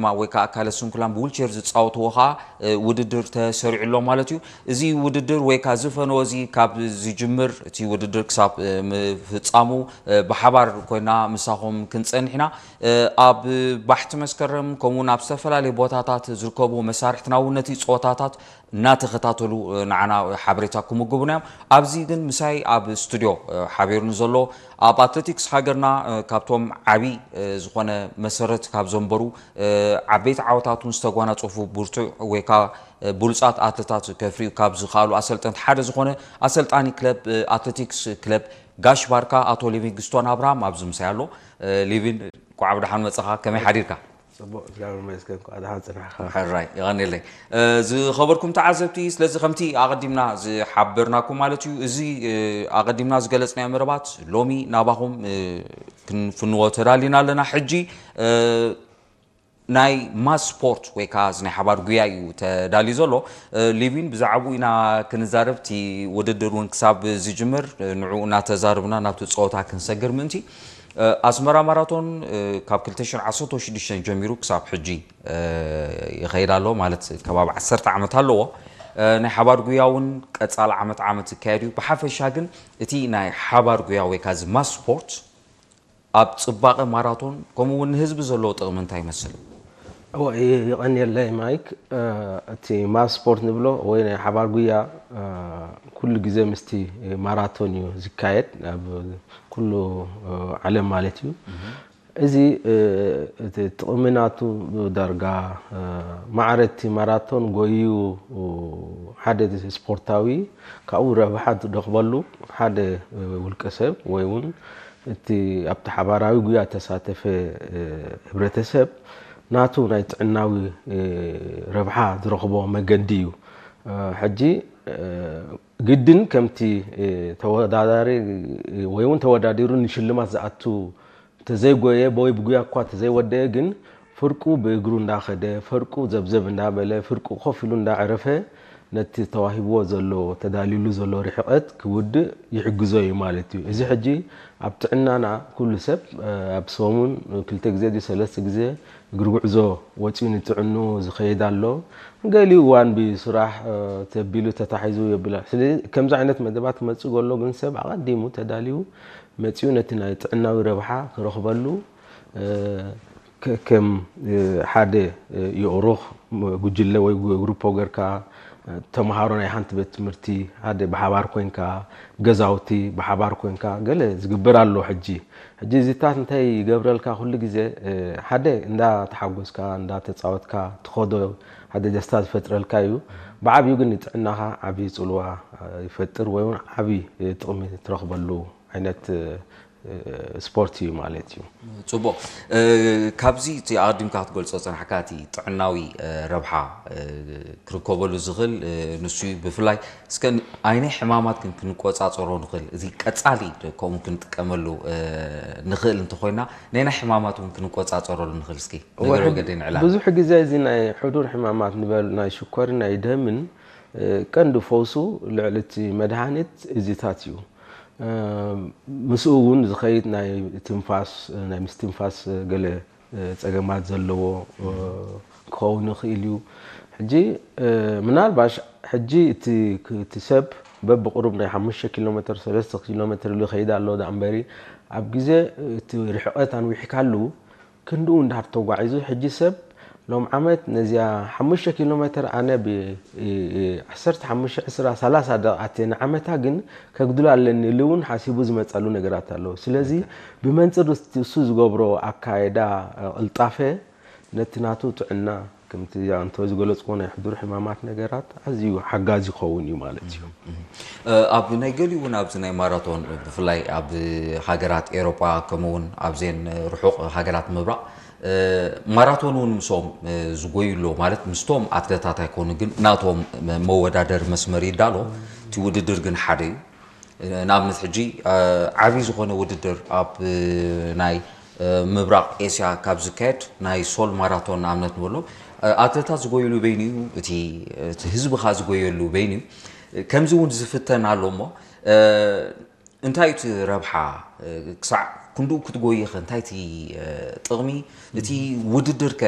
ማ ወይ ከዓ ኣካለ ስንኩላን ብዊልቸር ዝፃወትዎ ከዓ ውድድር ተሰሪዑ ኣሎ ማለት እዩ። እዚ ውድድር ወይ ከዓ ዝፈነወ እዚ ካብ ዝጅምር እቲ ውድድር ክሳብ ምፍፃሙ ብሓባር ኮይና ምሳኹም ክንፀንሕ ኢና። ኣብ ባሕቲ መስከረም ከምኡውን ኣብ ዝተፈላለዩ ቦታታት ዝርከቡ መሳርሕትና እውን ነቲ ፀወታታት እናተኸታተሉ ንዓና ሓበሬታ ክምግቡና እዮም። ኣብዚ ግን ምሳይ ኣብ ስቱድዮ ሓቢሩኒ ዘሎ ኣብ ኣትሌቲክስ ሃገርና ካብቶም ዓብዪ ዝኾነ መሰረት ካብ ዘንበሩ ዓበይቲ ዓወታት እውን ዝተጓናፀፉ ብርቱዕ ወይ ከዓ ብሉፃት ኣትሌታት ከፍርዩ ካብ ዝኽኣሉ ኣሰልጠንቲ ሓደ ዝኾነ ኣሰልጣኒ ክለብ ኣትሌቲክስ ክለብ ጋሽ ባርካ ኣቶ ሊቪንግስቶን ኣብርሃም ኣብዚ ምሳይ ኣሎ። ሊቪን፣ እንኳዕ ብደሓን መፀኻ። ከመይ ሓዲርካ? ፅቡቅ፣ እግዚኣብሔር ይመስገን። እንኳዕ ደሓን ፅናሕካ። ሕራይ፣ ይቐንየለይ። ዝኸበርኩም ተዓዘብቲ፣ ስለዚ ከምቲ ኣቐዲምና ዝሓበርናኩም ማለት እዩ፣ እዚ ኣቐዲምና ዝገለፅናዮ መደባት ሎሚ ናባኹም ክንፍንዎ ተዳሊና ኣለና። ሕጂ ናይ ማስ ስፖርት ወይ ከዓ እዚ ናይ ሓባር ጉያ እዩ ተዳልዩ ዘሎ። ሊቪን፣ ብዛዕባኡ ኢና ክንዛረብ። እቲ ውድድር እውን ክሳብ ዝጅምር ንዕኡ እናተዛረብና ናብቲ ፀወታ ክንሰግር ምእንቲ። ኣስመራ ማራቶን ካብ ክልተ ሽሕን ዓሰርተ ሽዱሽተን ጀሚሩ ክሳብ ሕጂ ይኸይድ ኣሎ፣ ማለት ከባቢ ዓሰርተ ዓመት ኣለዎ። ናይ ሓባር ጉያ እውን ቀፃሊ ዓመት ዓመት ዝካየድ እዩ። ብሓፈሻ ግን እቲ ናይ ሓባር ጉያ ወይ ከዓ እዚ ማስ ስፖርት ኣብ ፅባቐ ማራቶን ከምኡ እውን ንህዝቢ ዘለዎ ጥቕሚ እንታይ ይመስል? እወ፣ ይ- ይቐንየለይ ማይክ። እቲ ማስ ስፖርት ንብሎ ወይ ናይ ሓባር ጉያ ኩሉ ግዜ ምስቲ ማራቶን እዩ ዝካየድ ኣብ ኩሉ ዓለም ማለት እዩ። እዚ እቲ ጥቕሚ ናቱ ዳርጋ ማዕረ እቲ ማራቶን ጎዩ ሓደ ስፖርታዊ ካብኡ ረብሓ ዝረኽበሉ ሓደ ውልቀ ሰብ ወይ እውን እቲ ኣብቲ ሓባራዊ ጉያ ተሳተፈ ህብረተሰብ ናቱ ናይ ጥዕናዊ ረብሓ ዝረኽቦ መገዲ እዩ። ሕጂ ግድን ከምቲ ተወዳዳሪ ወይ እውን ተወዳዲሩ ንሽልማት ዝኣቱ ተዘይጎየ ወይ ብጉያ እኳ ተዘይወደየ ግን ፍርቁ ብእግሩ እንዳኸደ ፍርቁ ዘብዘብ እንዳበለ ፍርቁ ኮፍ ኢሉ እንዳዕረፈ ነቲ ተዋሂብዎ ዘሎ ተዳልዩሉ ዘሎ ርሕቐት ክውድእ ይሕግዞ እዩ ማለት እዩ። እዚ ሕጂ ኣብ ጥዕናና ኩሉ ሰብ ኣብ ሰሙን ክልተ ግዜ ድዩ ሰለስተ ግዜ እግሪ ጉዕዞ ወፂኡ ንጥዕንኡ ዝኸይድ ኣሎ። ገሊኡ እዋን ብስራሕ ተቢሉ ተታሒዙ የብል ኣሎ። ስለዚ ከምዚ ዓይነት መደባት ክመፅእ ከሎ ግን ሰብ ኣቐዲሙ ተዳልዩ መፂኡ ነቲ ናይ ጥዕናዊ ረብሓ ክረኽበሉ ከከም ሓደ የእሩኽ ጉጅለ ወይ ግሩፖ ገርካ ተምሃሮ ናይ ሓንቲ ቤት ትምህርቲ ሓደ ብሓባር ኮይንካ ገዛውቲ ብሓባር ኮይንካ ገለ ዝግበር ኣሎ። ሕጂ ሕጂ እዚታት እንታይ ይገብረልካ? ኩሉ ግዜ ሓደ እንዳ ተሓጎስካ እንዳ ተፃወትካ ትኸዶ ሓደ ደስታ ዝፈጥረልካ እዩ። ብዓብዩ ግን ንጥዕናኻ ዓብዪ ፅልዋ ይፈጥር ወይ እውን ዓብዪ ጥቕሚ ትረኽበሉ ዓይነት ስፖርት እዩ ማለት እዩ። ፅቡቕ። ካብዚ እቲ ኣቐዲምካ ክትገልፆ ፀናሕካ እቲ ጥዕናዊ ረብሓ ክርከበሉ ዝኽእል ንሱ እዩ። ብፍላይ እስከ ኣይናይ ሕማማት ግን ክንቆፃፀሮ ንኽእል፣ እዚ ቀፃሊ ከምኡ ክንጥቀመሉ ንኽእል እንተኾይና ናይ ናይ ሕማማት እውን ክንቆፃፀረሉ ንኽእል። እስኪ ነገር ወገደ ንዕላ ብዙሕ ግዜ እዚ ናይ ሕዱር ሕማማት ንበል ናይ ሽኮርን ናይ ደምን ቀንዲ ፈውሱ ልዕሊ እቲ መድሃኒት እዚታት እዩ። ምስኡ እውን ዝኸይድ ናይ ትንፋስ ናይ ምስትንፋስ ገለ ፀገማት ዘለዎ ክኸውን ይኽእል እዩ። ሕጂ ምናልባሽ ሕጂ እቲ እቲ ሰብ በብቁሩብ ናይ ሓሙሽተ ኪሎ ሜትር ሰለስተ ኪሎ ሜትር ኢሉ ይኸይድ ኣሎ ዳ እምበሪ ኣብ ግዜ እቲ ርሕቐት ኣንዊሕካሉ ክንድኡ እንዳር ተጓዒዙ ሕጂ ሰብ ሎም ዓመት ነዚኣ ሓሙሽተ ኪሎ ሜትር ኣነ ብ ዓሰርተ ሓሙሽተ ዕስራ ሰላሳ ደቂቃት እየ ንዓመታ ግን ከጉድላ ኣለኒ ኢሉ እውን ሓሲቡ ዝመፀሉ ነገራት ኣለዉ። ስለዚ ብመንፅር እሱ ዝገብሮ ኣካየዳ ቅልጣፈ ነቲ ናቱ ጥዕና ከምቲ ኣንቶ ዝገለፅዎ ናይ ሕዱር ሕማማት ነገራት ኣዝዩ ሓጋዚ ይኸውን እዩ ማለት እዩ። ኣብ ናይ ገሊኡ እውን ኣብዚ ናይ ማራቶን ብፍላይ ኣብ ሃገራት ኤሮጳ ከምኡ እውን ኣብዘን ርሑቕ ሃገራት ምብራቕ ማራቶን እውን ምስኦም ዝጎዩ ኣለዉ ማለት ምስቶም ኣትለታት ኣይኮኑ ግን ናቶም መወዳደሪ መስመር ይዳሎ እቲ ውድድር ግን ሓደ እዩ። ንኣብነት ሕጂ ዓብዪ ዝኾነ ውድድር ኣብ ናይ ምብራቕ ኤስያ ካብ ዝካየድ ናይ ሶል ማራቶን ንኣብነት ንበሎ ኣትለታት ዝጎይሉ በይኑ እዩ፣ እቲ ህዝቢ ኸዓ ዝጎየሉ በይኑ እዩ። ከምዚ እውን ዝፍተን ኣሎ እሞ እንታይ እቲ ረብሓ ክሳዕ ክንድኡ ክትጎይኸ እንታይ እቲ ጥቕሚ እቲ ውድድር ከ